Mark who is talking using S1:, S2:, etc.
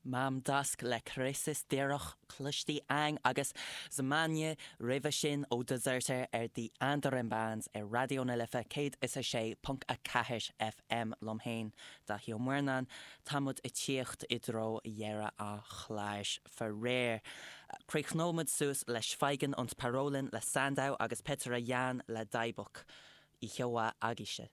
S1: Mam Dusk le Crisis díreach cloiste a'inn agus Zamane roimhe sin ó Deserter ar The Andarim Bands ar Raidió na Life 106.4 FM liom féin, Daithí Ó Muirneáin. Tá muid ag tíocht i dtreo dheireadh an chláir faraor. Críochnóidh muid suas le Schweigen und Parolen le Sandow agus Petera Jan le Dybbuk. Oíche mhaith agaibhse.